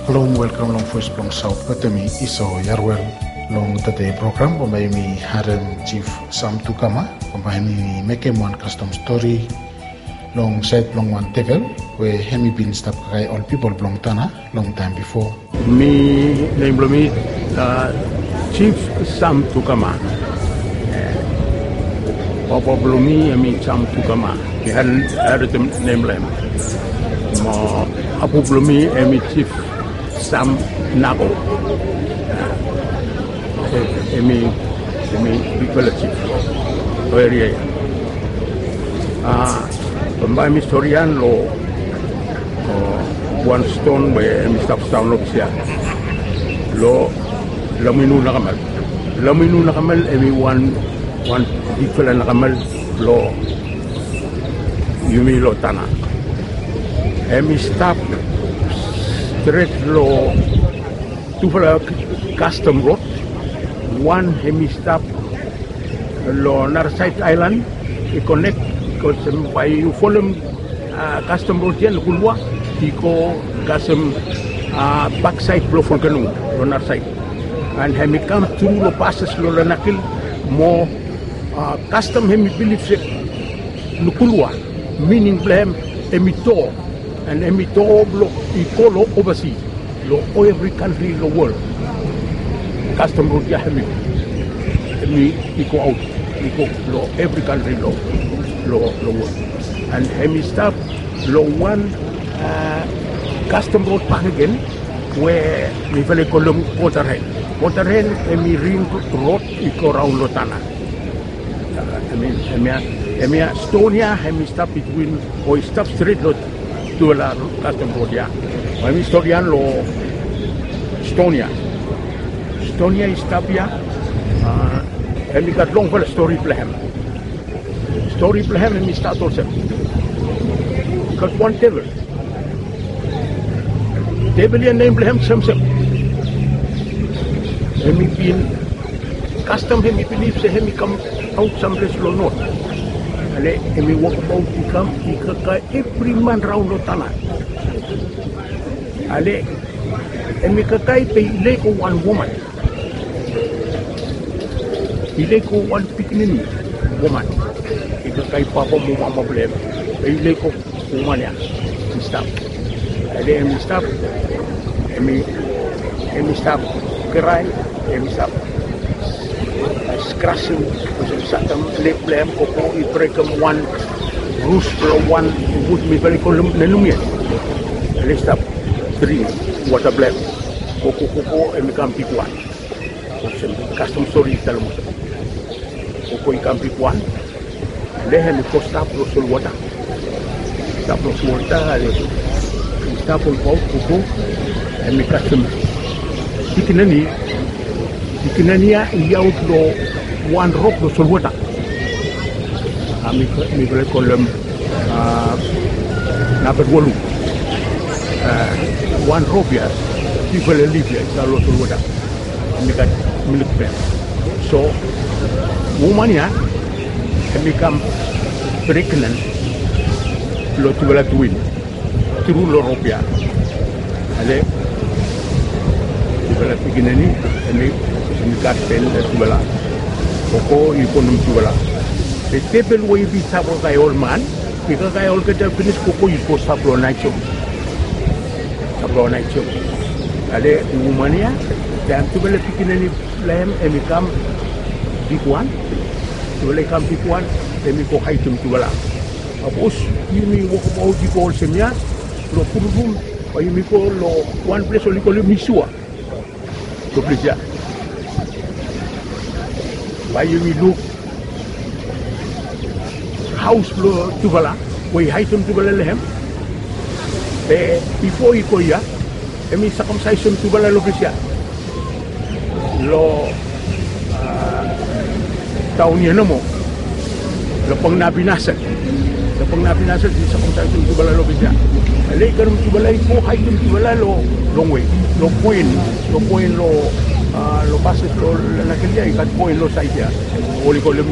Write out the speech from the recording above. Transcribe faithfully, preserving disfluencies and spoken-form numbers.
Halom, welkam long Voes blong Saot wetem mi, Iso Yarwel. Long tede program bambae yumi harem Jif Sam Tukama, bambae hemi mekem wan kastom stori long saed blong wan devel we hemi bin stap kakae ol pipol blong Tanna long taem bifo. Mi, nem blong mi, a, Jif Sam Tukama. E, papa blong mi hemi Sam Tukama. Mi harem, harem nem blong hem. Mo, apu blong mi hemi Jif Sam Nago. E, hemi, hemi bigfala jif lo eria ia. A, bambae mi stori ia lo, o, wan ston we hemi stap daon lo ples ia. Lo Laminu Nakamal. Laminu Nakamal hemi wan, wan bigfala nakamal lo yumi lo Tanna. Hemi stap stret lo tufala kastom rod. Wan hemi stap lo narasaed aelan, i konek, bikos bae yu folem, a, kastom rod ia lo Kulua, i go kasem, a, baksaed blo volkano lo narasaed. An hemi kam tru lo pases lo Lanakil mo, a, kastom hemi bilif se lo Kulua, mining blo hem hemi doa. An hemi doa blo i go lo ovasi, lo evri kantri lo wol. Kastom rod ia hemi, hemi i go aot, i go lo evri kantri lo, lo, lo wol. An hemi stap lo wan, a, kastom rod bakegen we mifala i kolem Waterhen. Waterhen hemi ring rod i go raon lo Tanna. Hemia, hemia, hemia ston ia hemi stap bitwin, o i stap stret lo tufala kastom rod ia. Hemi ston ia lo ston ia. Ston ia i stap ia, a, hemi gat longfala stori blo hem. Stori blo hem hemi stat olsem. I gat wan devel. Devel ia nem blo hem Semsem. Hemi bin kastom hemi bilif se hemi kamaot samples lo not. Ale hemi wokbaot i kam i kakae evri man raon lo Tanna. Ale hemi kakae be i lego wan woman. I lego wan pikinini woman. I kakae papa mo mama blo hem. Be i lego woman ia i stap. Ale hemi stap, hemi, hemi stap krae, hemi stap skrasem, olsem sakem leg blo hem, gogo i brekem wan rus blo wan wud mifala i kolem nenum ia. Ale i stap dring wota blo hem. Gogo, gogo, hemi kam bigwan. Olsem kastom stori i talem olsem. Gogo i kam bigwan. Ale hemi go stap lo solwota. Stap lo solwota, ale i stap olbaot gogo. Hemi kasem pikinini. Pikinini ia i aot lo wan rop lo solwota. A, mi, mifala i kolem, a, namba walu. A, wan rop ia, bigfala lif ia i stap lo solwota. Hemi gat milk blo hem. So woman ia hemi kam pregnen lo tufala twin tru lo rop ia. Ale tufala pikinini hemi, hemi gat bel lo tufala. Gogo i bonem tufala. Be devel we i bin stap kakae ol man, i kakae olgeta finis, gogo i go stap lo naesum. Stap lo naesum. Ale woman ia, taem tufala pikinini blo hem hemi kam bigwan, tufala i kam bigwan, hemi go haedem tufala. Sapos yumi wokbaot i go olsem ia lo Purupum, bae yumi go lo wan ples oli kolem Isua. Lo ples ia bae yumi luk haos blo tufala we i haedem tufala lo hem. Be bifo i go ia, hemi sakamsaesem tufala lo ples ia. Lo, a, taon ia nomo. Lo Pangnabi Naset. Lo Pangnabi Naset i sakamsaesem tufala lo ples ia. Ale i karem tufala i go haedem tufala lo longwe. Lo poen, lo poen lo, a, lo pases lo Lanakil ia i gat poen lo saed ia. Oli kolem